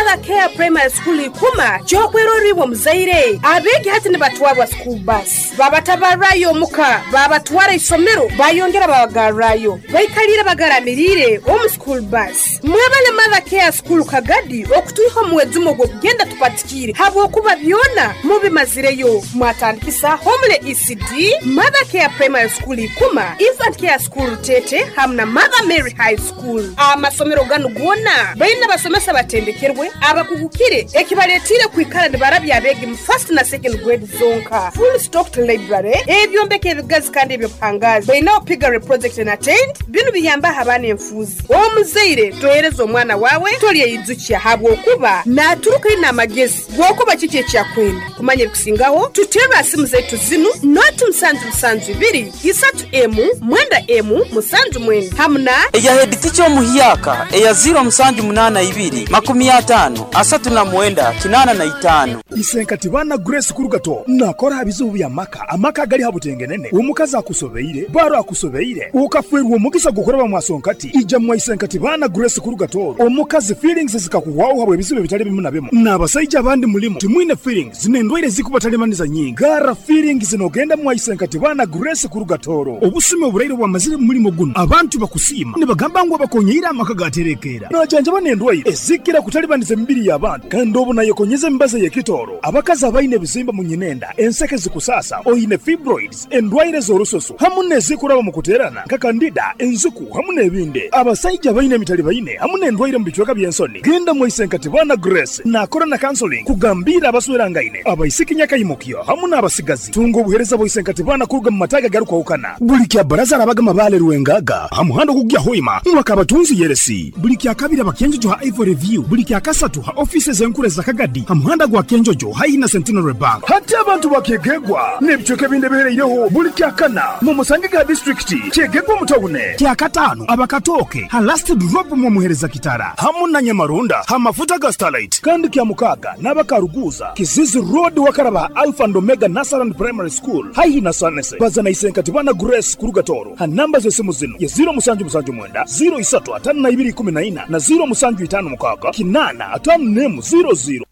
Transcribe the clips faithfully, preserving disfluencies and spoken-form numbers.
Mother Care Primary School ikuma kyokweroribwa muzaire abegi hati nibatwarwa school bus babatabarayo omuka babatwara isomero bayongera babagarrayo baikalira bagaramirire omu school bus. Mwebale Mother Care School Kagadi okutuiho muwezumo gwokugenda tupatikire habwokuba byona mubimazireyo. Mwatandikisa Homele E C D, Mother Care Primary School ikuma, Infant Care School Tete hamna Mother Mary High School. Amasomero ganu gwona baina basomesa batendekerwe abakugukire ekibaletire kwikara nibarabya abegi mu first na second grade zonka. Full stocked library ebyombeko ebigazi kandi ebyobuhangazi baina piggery project and attend binu biyamba abaana enfuzi. Omuzaire tohereza omwana wawe tolyeyizukia habwokuba naturuka ina amagezi gwokuba kiki ekyakwenda kumanya ebikusingaho tutera simu zetu zinu noti musanju musanju ibiri isatu emu mwenda emu musanju mwenda hamna eya head teacher omuhiyaka eya zero musanju munana ibiri makumi atano asatu na mwenda kinana na itano. Isenkati bana Grace Kurugato nakora bizubu bya maka amaka gali habutengenene omukazi akusobeire baro akusobeire ukafwerwa omugisa gukora mwasonkati ija mwa Isenkati bana Grace Kurugato omukazi feelings zikakuwaho habwe bizubu bitali bimu na bimu n'abasajja abandi mulimo timwine feelings zinendwaire zikubatalemaniza nyingi gara feelings zinogenda mwa Isenkati bana Grace Kurugatoro obusime oburaire bwamazire mulimo guno abantu bakusima nibagamba ngo bakonyeira amaka gaterekera najanja banendwaire ezikira kutalibaniza emibiri y'abantu kandi obu nayekonyeza embaza yekitoro abakazi abaine ebizimba mu nyinenda enseke zikusasa oine fibroids endwaire z'orusoso hamu nezikuraba mu kuterana kakandida enzuku hamu n'ebindi abasajja baine emitali baine hamu n'endwaire mu bicweka by'ensoni genda mu Isenkati bana Grace nakora na counseling kugambira abaswerangaine abaisiki nyakayimukyo hamu n'abasigazi tunga obuhereza bwa Isenkati bana kuruga mu mataga garukwahukana buli kya baraza arabaga mabale ruwengaga hamuhando kugya hoima mwakabatunzi yeresi buli kya kabiri abakenjojo ha Ivory View buli kya kasatu ha offices enkure za Kagadi hamuhanda gwa Kenjojo haina Centenary Bank hati abantu bakegegwa n'ebicweka ebindi bihereireho buli kya kana mu musange ga district kyegegwa mutawune kya katano abakatoke ha last drop mu muhereza kitara hamu na Nyamarunda ha mafuta ga Starlight kandi kya mukaga n'abakaruguza Kizizi Road wakaraba Alpha and Omega Nasaran Primary School haihi na Sanese bazana Isenkati bana Grace Kurugatoro ha namba z'esimu zino ya zero musanju musanju mwenda zero isatu atano na ibiri kumi na ina na zero musanju itano mukaga kinana atano nemu zero zero.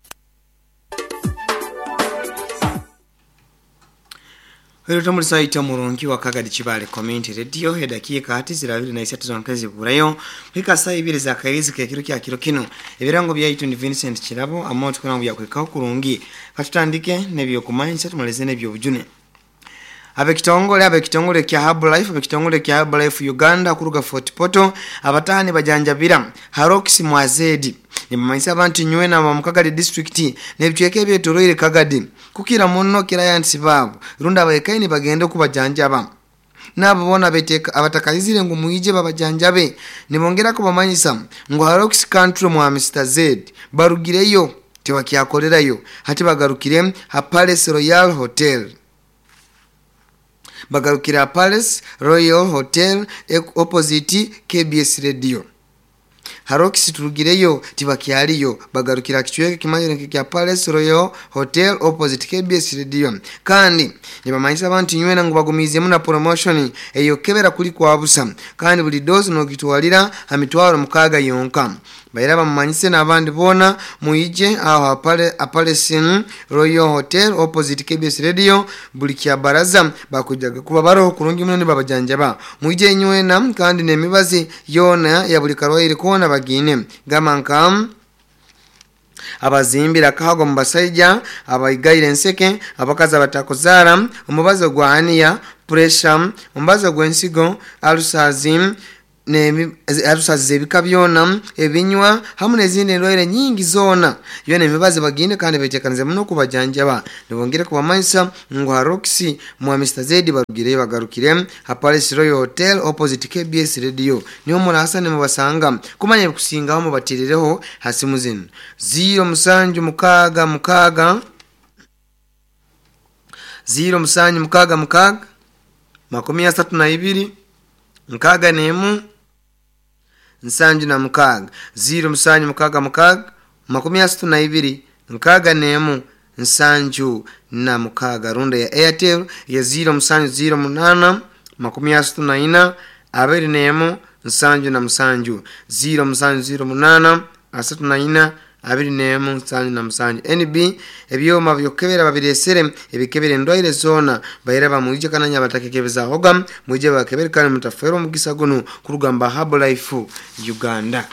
Hero tamulisa ita murungi wa Kagadi Chibale Community Radio hedakika hati zirabiri na isatu zonkazi burayo hika saa ibiri za kairizi ke kiro kya kiro kino ebirango bya itu ni Vincent Kirabo amoto kuna bya kwekaho kurungi katutandike nebyo kumanyisa tumalize nebyo bujune abekitongole abekitongole kya Herbalife abekitongole kya Herbalife Uganda kuruga Fort Portal abatahani bajanjabira Harox Mwazedi nimamanyisa abantu nywe na Mukagadi district nebicweke byetoroire Kagadi kukira muno clients babo runda abayekaini bagende kubajanjaba nabo bona beteka abatakayizire ngo muije babajanjabe nibongera kubamanyisa ngo Harox country mwa Mister Z barugireyo tewakyakolerayo hati bagarukire ha Palace Royal Hotel bagarukira Palace Royal Hotel opposite K B S Radio Harox turugireyo tibakyaliyo bagarukira kichweke kimanyire kya Palace Royal Hotel opposite K B S Radio kandi nibamanyisa abantu nywena ngo bagumize muna promotion eyo kebera kuli kwa busa kandi buli dose no gitwalira amitwaro mukaga yonka bayira bamanyise n'abandi bona muije aho pale Palace Royal Hotel opposite K B S Radio buli kya baraza bakujaga kuba baroho kurungi muno nibabajanjaba muije nywena kandi nemibazi yona ya buli karwaire kona bagine gamanka abazimbira kahago mubasajja abayigaire enseke abakazi abatakozara omubazo gwa ania pressure omubazo gwensigo alusazi ne alusazi ebika byona ebinywa hamu nezindi endwaire nyingi zona yona emibazi bagine kandi betekanize muno kubajanjaba nibongere kubamanyisa ngo Harox mwa Mister Z barugire bagarukire ha Palace Royal Hotel opposite K B S Radio niyo murasa ne mubasanga kumanya kusingaho mubatirereho hasimu zino zero musanju mukaga mukaga zero musanju mukaga mukaga makumi asatu na ibiri nkaga nemu nsanju na mukaga zero musanju mukaga mukaga makumi asatu na ibiri nkaga nemu nsanju na mukaga runda ya Airtel ya zero musanju zero munana makumi asatu na ina abiri nemu nsanju na musanju zero musanju zero munana asatu na ina abiri n'emu nsanju na musanju. N B ebyoma byokukebera babiresere ebikebera endwaire zoona baira bamwije kananya batakekebezaahoga mwije bakebere kandi mutafeerwa omugisa guno kurugamba Herbalife Uganda.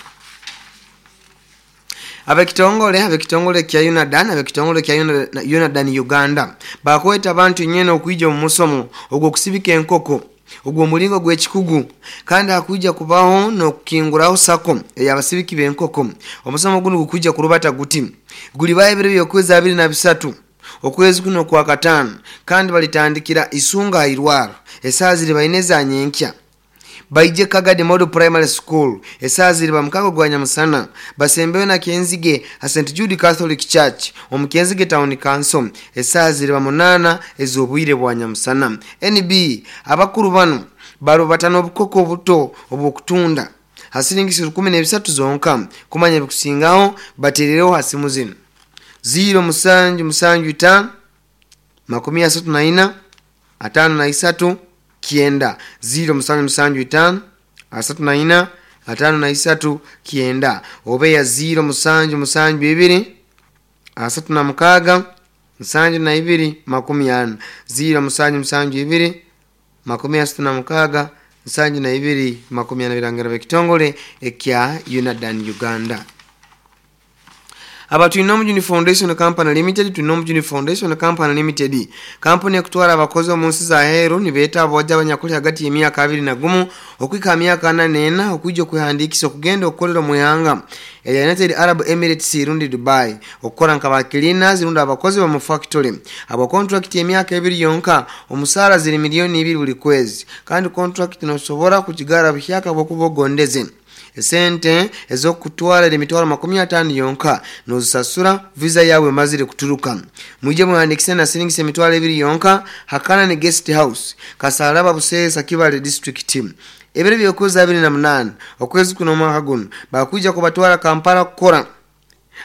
Abekitongole abekitongole kya Unadan abekitongole kya Unadan Uganda bakweta abantu nyene okuija mu musomo ogwo kusibika enkoko ogwo mulingo gw'ekikugu kandi akuija kubaho n'okukinguraho sako ey'abasibiki b'enkoko. Omusomo guno gukuija kurubata guti gulibayo ebiro by'okwezi abiri na bisatu okwezi kuno kwa kataano kandi balitandikira Isunga Irwaro esaaha ziri baine za nyenkya baije Kagadi Model Primary School esaaha ziri bamukago gwa nyamusana basembeyo na Kenzige ha Saint Jude Catholic Church omu Kenzige Town Council esaaha ziri bamunana ez'obwire bwa nyamusana. N B abakuru bano barubatana obukoko obuto obw'okutunda hasiringisi rukumi n'ebisatu zonka kumanya ebikusingaho bateerereho hasimu zino ziro musanju musanju itaano makumi asatu na ina atano na isatu kienda ziro musanju musanju itaano asatu na ina atano na isatu kienda obeya ziro musanju musanju ibiri asatu na mukaga musanju na ibiri makumi ana ziro musanju musanju ibiri makumi asatu na mukaga musanju na ibiri makumi ana. Birangiro by'ekitongole ekya Unadan Uganda. Aba Twinomujuni Foundation Company Limited Twinomujuni Foundation Company Limited kampuni ekutwara abakozi omu nsi za heru nibeeta abawajja abanyakuli hagati y'emyaka abiri na gumu okwika myaka ana n'ena okwijja okwehandiikisa okugenda okukolera mu ihanga eya United Arab Emirates rundi Dubai okukora nka ba cleaners rundi abakozi ba mu factory. Abo contract y'emyaka ebiri yonka omusaara ziri miliyoni ibiri buli kwezi kandi contract nosobora kukigara buhyaka bwokuba ogondeze. Esente ez'okutwara emitwaro makumi ataano yonka nozisasura visa yawe mazire kuturuka. Mwije muhandikise na siringisi emitwaro ebiri yonka hakana ne guest house Kasalaba Buseesa Kibale district. Ebiro by'okwezi abiri na munaana okwezi kuno omwaka guno bakuija kubatwara Kampala kukora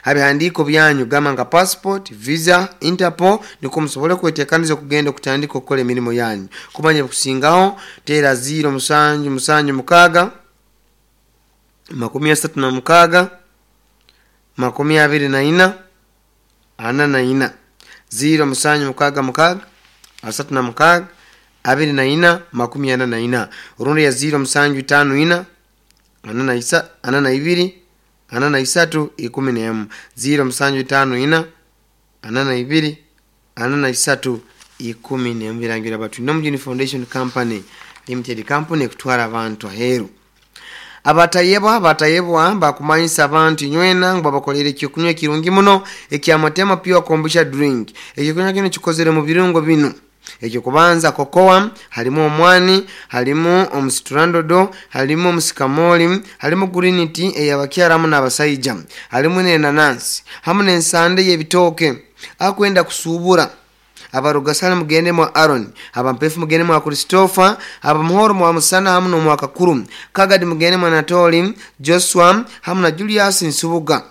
abihandiiko byanyu gamba nka passport, visa, Interpol niko musobole kwetekaniza okugenda okutandika okukola emirimu yanyu. Kumanya ebikusingaho teera ziro musanju musanju mukaaga makumi asatu na mukaaga makumi abiri na ina ana na ina ziro musanju mukaaga mukaaga asatu na mukaaga abiri na ina makumi ana na ina orundi ya ziro musanju itaano ina ana na isa ana na ibiri ana na isatu ikumi n'emu ziro musanju itaano ina ana na ibiri ana na isatu ikumi n'emu. Birangira batu Twinomujuni Foundation Company Limited company ekutwara abantu aheeru. Abatayebwa abatayebwa bakumanyisa abantu nywena ngo babakolere ekyokunywa ekirungi muno ekyamatema pure kombucha drink. Ekyokunywa kino kikozere mu birungo bino: ekyokubanza kokoa, halimu omwani, halimu omusitrandodo, halimu omusikamoli, halimu green tea eyabakyaramu n'abasaija, halimu n'enanansi hamu n'ensande y'ebitooke. Akwenda kusuubura abarugasana mugende mwa Aaron, abampefu mugende mwa Christopher, abamuhoro mwa Musana hamu n'omwa Kakuru, Kagadi mugende mwa Anatoli, Joshua hamu na Julius Nsubuga.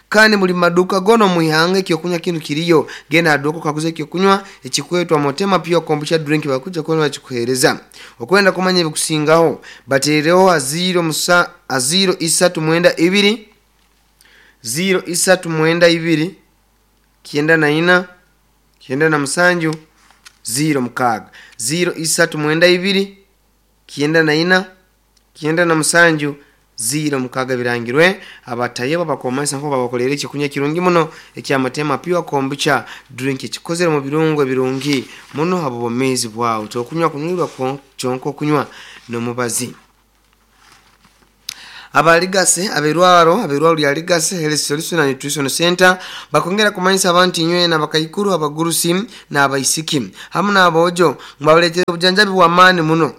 Kandi muli maduka gono muihanga ekyokunywa kinu kiriyo genda aduka kaguze ekyokunywa ekikwetwa Motema Pure Kombucha Drink bakuja kuona bakikuhereza. Okwenda kumanya ebikusingaho bateereho aziro musa aziro isatu mwenda ibiri ziro isatu mwenda ibiri kienda na ina kienda na musanju ziro mukaaga ziro isatu mwenda ibiri kienda na ina kienda na musanju ziro mukaaga. Birangirwe abatayeba bakomanyisa nko babakolera ekyokunywa kirungi muno ekyamatema Pure Kombucha Drink kikozere mu birungo ebirungi muno abo bomezi bwawe tokunywa kunywa kyonka okunywa n'omubazi. Abaligase aberwaro aberwaro lya Ligase Health Solution and Nutrition Center bakongera kumanyisa abantu nywena abakaikuru abagurusi n'abaisiki hamu n'abojo ngabaleetera obujanjabi bwa maani muno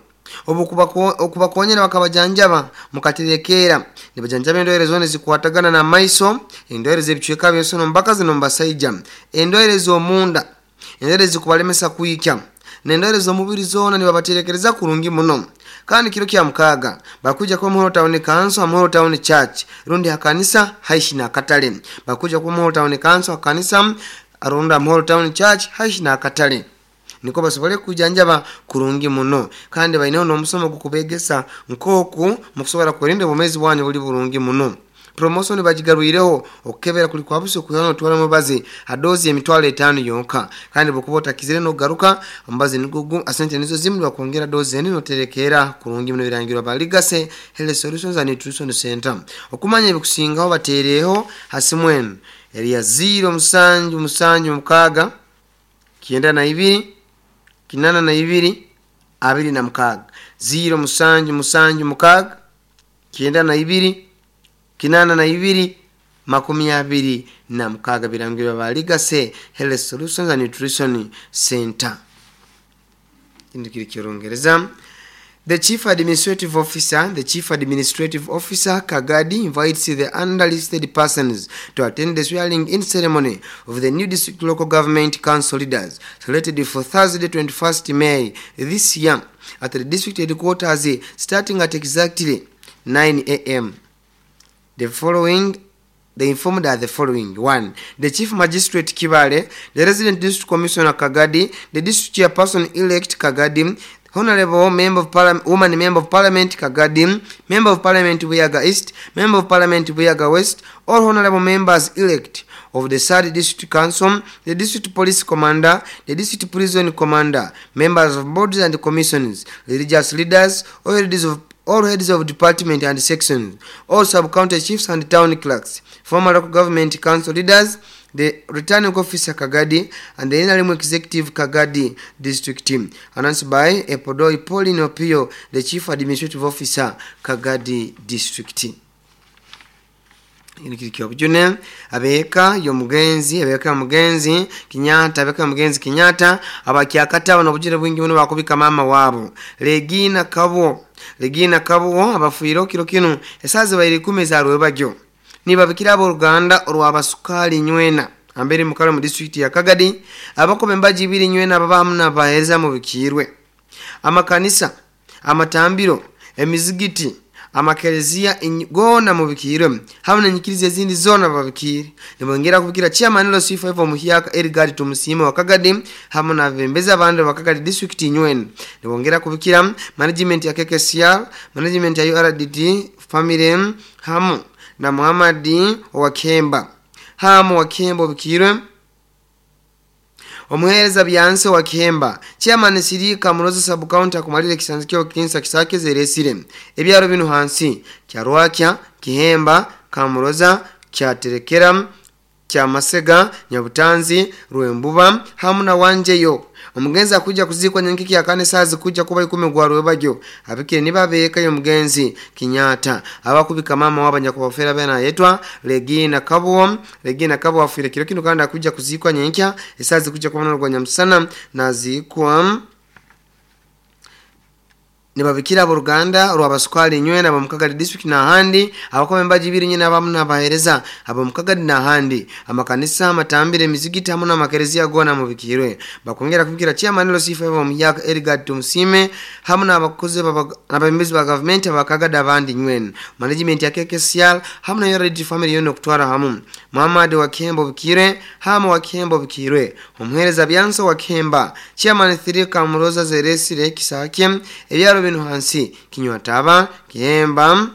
okubakonyera bakabajanjaba mukaterekera nibajanjaba endwaire zona zikwatagana na maiso, endwaire z'ebicweka by'ensono mbakazi n'omubasaija, endwaire z'omunda, endwaire zikubalemesa kwikya n'endwaire z'omubiri zona nibabaterekereza kurungi muno. Kandi kiro kya mukaaga bakuja kwa Muhoro Town Council, Muhoro Town Church rundi hakanisa haishi na katale. Bakuja kwa Muhoro Town Council hakanisa arunda Muhoro Town Church haishi na katale niko basobole kujanjaba kurungi muno. Kandi baineho n'omusomo gukubegesa nkoku mukusobora kurinda obumezi bwanyu buli burungi muno. Promotion bagigarwireho okukebera kuli kwa buso kuyona otwala mubazi adozi emitwalo etaano yonka kandi bukuba otakizire n'ogaruka omubazi nigugu asente nizo zimu bakwongera dozi eni noterekera kurungi muno birangirwa ba Legacy Health Solutions and Nutrition Center. Okumanya ebikusingaho bateereho hasimwenu eriya zero musanju musanju mukaga kienda na ibiri kinana na ibiri abiri na mukaga zero musanju musanju mukaga kienda na ibiri kinana na ibiri makumi abiri na mukaga birangirwa ba Legacy Health Solutions and Nutrition Center. Indikiri kirongereza. The Chief Administrative Officer, the Chief Administrative Officer Kagadi invites the underlisted persons to attend the swearing-in ceremony of the new district local government council leaders slated for Thursday twenty-first May this year at the district headquarters starting at exactly nine A M. The following They informed are the following. One, the Chief Magistrate Kibale, the Resident District Commissioner Kagadi, the District Chairperson-elect Kagadi, Honorable Member of Parliament, Woman Member of Parliament Kagadi, Member of Parliament Buyaga East, Member of Parliament Buyaga West, all Honorable Members-elect of the Third District Council, the District Police Commander, the District Prison Commander, members of boards and commissions, religious leaders, all heads of all heads of department and sections, all sub-county chiefs and town clerks, former local government council leaders, the returning officer Kagadi, and the N R M executive Kagadi district team. Announced by Epodoi Pauline Opio, the chief administrative officer Kagadi district team. Obujune abeeka yomugenzi abeeka mugenzi Kinyata abeeka mugenzi Kinyata abakyakata bano obujune bwingi buno bakubika mama wabo Regina Kabo Regina Kabo abafuiro kiro kino esazi bairi kumi za rwebagyo nibabikira abo Ruganda olwabasukali nywena ambere mukalo mu district ya Kagadi abakobe mbaji ibiri nywena ababamu nabahereza mu bikirwe amakanisa amatambiro emizigiti amakerezia gona mubikirwe hamwe nenyikirize ezindi zona babikire nibongera kubikira chairman lo C five omuhyaka Edgar Tumusime wa Kagadi hamwe na bembeza abandi wa Kagadi district nywena nibongera kubikira management ya K K C R management ya U R D T family hamu na Muhammad wa Kemba hamu wa Kemba bikirwe omuhereza byanse wa Kihemba chairman Sirika Muroza sub county akumalire kisanzikyo kinsa kisake zeresire ebyaro binu hansi kyarwakya Kihemba Kamuroza kyaterekera kyamasega Nyabutanzi Rwembuba hamu na Wanjeyo. Omugenzi akuja kuzikwa nyankiki ya kane sazi kuja kuba ikumi gwa rwebagyo abikire niba beka yo mugenzi Kinyata abakubika mama wabanya kubafera bena yetwa Regina Kabo Regina Kabo afire kiro kino kandi akuja kuzikwa nyankya esazi kuja kubona rwa Nyamusana nazikwa nibabikira abo Ruganda rwabasukali nywena abamukagadi district na handi abakome mbaji ibiri nyina abamu nabahereza abamukagadi na handi amakanisa amatambire emizigiti hamwe n'amakerezia gona mubikirwe bakongera kubikira chairman lo C five omuyaka Edgar Tumusime hamwe n'abakozi n'abemezi ba government abakagadi abandi nywena management ya K K C R hamwe na U R D family yono kutwara hamu Muhammad wa Kembo bikire hamu wa Kembo bikirwe omuhereza byanso wa Kemba chairman three Kamuroza zeresire kisake ebyaro binu hansi Kinywataba Kihemba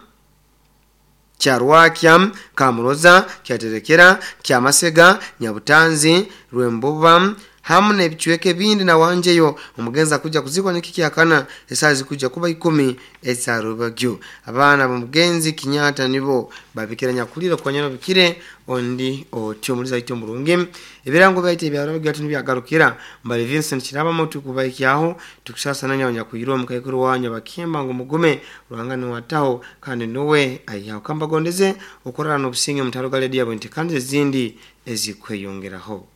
Kyarwakya Kamuroza Kyaterekera Kyamasega Nyabutanzi Rwembuba hamu n'ebichweke bindi na Wanjeyo. Omugenzi akuja kuzikwa nikiki akana esazi kuja kuba ikumi ezarubagyo abaana b'omugenzi Kinyata nibo babikira nyakulira kwanyana bikire ondi otyo muliza ito murungi ebirango byite byarabagyo ati nibyagarukira mbali Vincent Kiraba motu kubaikyaho tukusasa nanya nyakuirwa mukaikuru wanyu bakemba ngo mugume ruhangano wataho kandi nowe ayihaho kambagondeze okorana n'obusinge mutaro galedia bwenti kandi ezindi ezikweyongeraho.